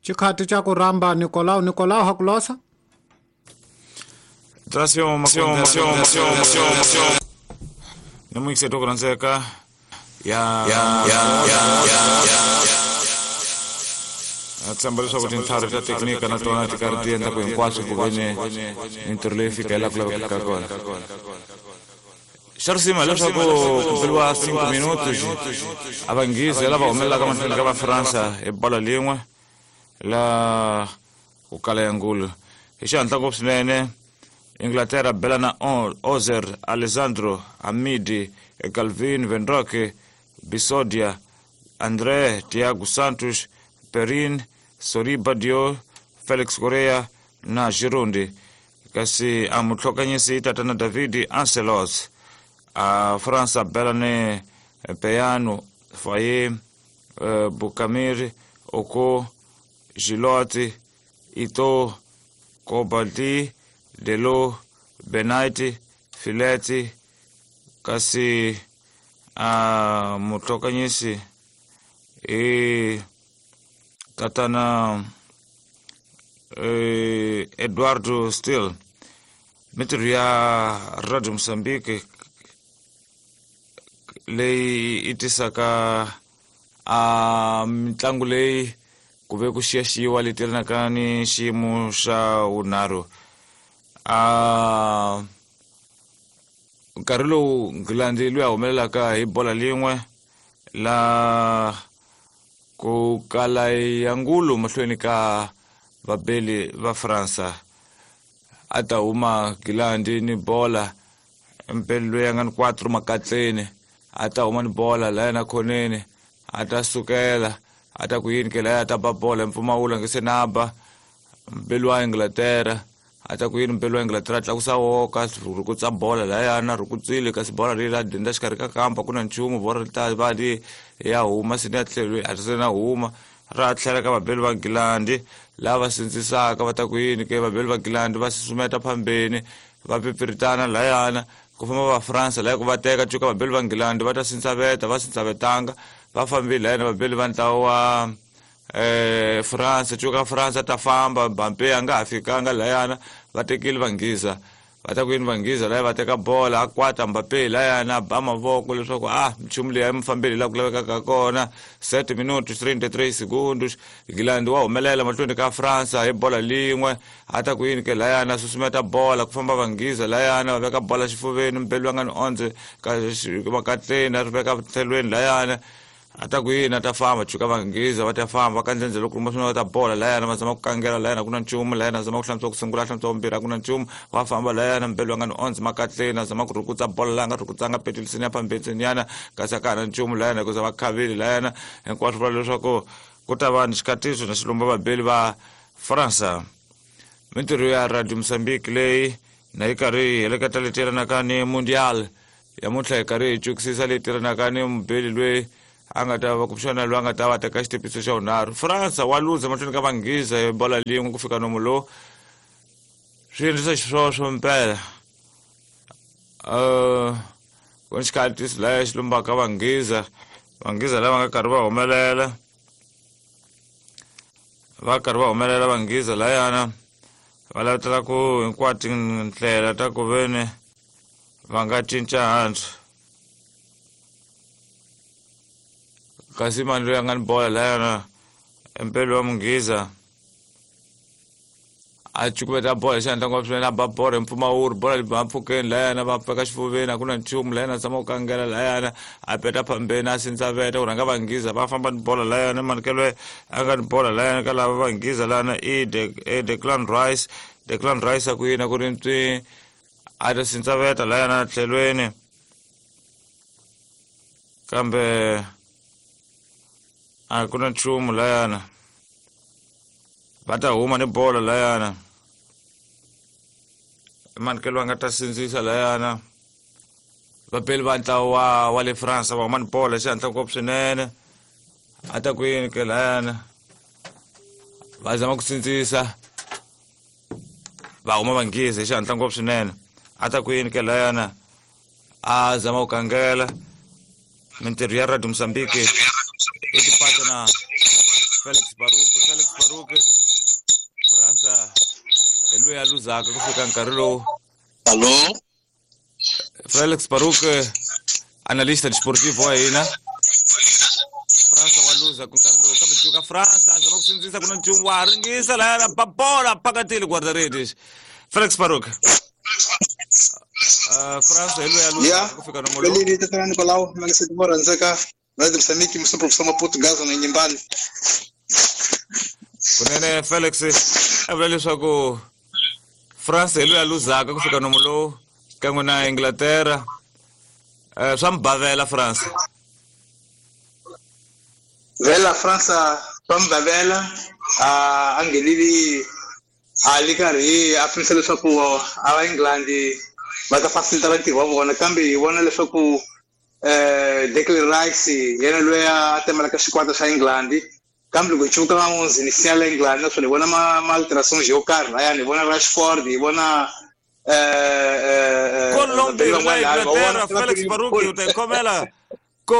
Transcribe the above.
Xikhati xa ku rhamba Nicolau. Nicolau Hakulosa. Namuikise tokuranzeka ya ya ya ya ya tshemba leswaku tintlhari ta teknika na tona ti karhi ti endla ku hinkwaswo ku veni mintirho leyi fika hi laha ku lavekaka kona. Xa risima hileswaku ku beriwa 5 minutos a vanghezi lava humelelaka mahlweni ka va Fransa hi bola lin'we la ku kala ya ngulu hi xihatla ngopfu swinene. Inglaterra bela na Ozer, Alessandro, Hamidi, Calvin, Venroque, Bisodia, André, Thiago Santos, Perin, Soriba Dio, Felix Correa na Girondi. Kasi a mutlhokanyisi tatana David Ancelos. A Fransa bela ni Peyano, Faye, Bukamir, Oko, Gilotti, Ito, Kobaldi, Delo, Benaiti, Fileti, kasi a mutlhokanyisi i tatana Eduardo Steele. Mintirho ya Radio Mozambique leyi yi tisaka a mitlangu leyi ku ve ku xiyaxiyiwa leyi tirhanaka ni xiyimo xa vunharhu. A nkarhi lowu Nghilandi loyi a humelelaka hi bola lin'we la ku kala ya ngulu mahlweni ka vabeli va Fransa. A ta huma Nghilandi ni bola mpeli loyi a nga ni 4 makatleni, a ta huma ni bola la yena khoneni, a ta sukela a ta ku yini ke la a ta ba bola mpfumawulo nge se na ba mpeli wa Inglaterra. A ta ku yini mpeli wa Inglaterra tlakusa woka rhukutsa bola layana rhukutsile, kasi bola leyi la denda xikarhi ka kampa ku na nchumu, bola ri ta va li ya huma sini ya tlhelo a ri se na huma ra tlhela ka vabeli va Nghilandi lava sindzisaka. Va ta ku yini ke vabeli va Nghilandi va susumeta phambeni va pipiritana layana ku famba va Fransa laya ku va teka cuka vabeli va Nghilandi va ta sindzaveta va sindzavetanga va fambile layana vabeli va ntlawa wa France cuka France ta famba Mbappé a nga ha fikanga layana va tekile vanghiza. Va ta ku yini vanghiza laya va teka bola a kwata Mbappé layana ba mavoko leswaku a nchumu leyi a mi fambeli laha ku lavekaka kona. 7 minutos 33 segundos Nghilandi wa humelela mahlweni ka Fransa hi bola lin'we. A ta ku yini ke layana susumeta bola ku famba vanghiza layana va veka bola xifuveni mpeli va nga ni 11 ka makatleni a ri veka tlhelweni layana. A ta ku yini a ta famba chuka vanghiza va ta famba va kandzendze loko kuma swin'wana va ta bola layana va zama ku kangela layana ku na nchumu layana zama ku hlantswa ku sungula hlantswa vumbirhi a ku na nchumu va famba layana mpeli va nga ni 11 makatleni a zama ku rhukutsa bola laya nga rhukutsanga petilisini ya phambetseninyana kasi a ka ha na nchumu layana hikuza va khavile layana hinkwaswo vula leswaku ku ta va ni xikatiso na xilumba vabeli va Fransa. Mintirho ya Radio Mozambique leyi na yi karhi yi heleketa leti yelanaka ni Mundial yamuntlha hi karhi hi cukisisa leyi tirhanaka ni mubeli loyi a nga ta va kumbexana loyi a nga ta va teka xitepiso xa vunharhu. Fransa wa luza mahlweni ka vanghiza hi bola lin'we ku fika nomu lowu swi endlisa xiswoswo mpela. Ku ni xikhatisi laya xi lumbaka vanghiza, vanghiza lava nga karhi va humelela va karhi va humelela vanghiza layana va lavetela ku hinkwato tindlela ta ku veni va nga cinca hansi. Kasi mani loyi a nga ni bola layana mpeli wa munghiza a cukumeta bola xi endla ngopfu swinene a ba bola hi mpfumawulo bola li ba mpfhukeni layana va pfeka xifuveni a ku na nchumu layana a tshama ku kangela layana a peta phambeni a sindzaveta ku rhanga vanghiza va famba ni bola layana manikelo a nga ni bola layana ka lava vanghiza layana i Declan Rice. Declan Rice a ku yini a ku ri ntswi a ta sindzaveta layana tlhelweni kambe a ku na nchumu layana va ta huma ni bola layana manikelo va nga ta sindzisa layana vapeli va ntlawa wa le France va huma ni bola xihatla ngopfu swinene a ta ku yini ke layana va zama ku sindzisa va huma vanghiza hi xihatla ngopfu swinene a ta ku yini ke layana a zama ku kangela. Mintirho ya Radio Mozambique i tipata na Felix Baruch, Felix Baruch, Fransa hi loyi a luzaka ku fika nkarhi lowu. Alô? Felix Baruch, analista desportivo wa hina. Fransa wa luza ku nkarhi lowu, kambe cuka Fransa a zama ku sindzisa ku na nchumu wa ringisa laya bola phakatile guarda-redes. Felix Baruch. Fransa hi loyi a luzaka ku fika nomo lowu. Belini tatana Nicolau, mangiseti mo rhandzeka Radio Moçambique, moção professor Maputo Gaza na Nyimbali. Kunene Felix a vula leswaku France hi loyi a luzaka ku fika nomo lowu kan'we na Inglaterra. Swa mubavela France. Vela Fransa swa mubavela, a nghenile a li karhi a pimisa leswaku a va England va ta facilita ntirho wa vona, kambe hi vona leswaku Declan Rice yena loyi a temelaka xikwata xa England, kambe loko hi cuvuka van'wunzi ni siya la England, naswona hi vona ma alterations yo karhi layani, hi vona Rashford, hi vona Colombia na Inglaterra. Felix Baruch u ta yi khomela ko.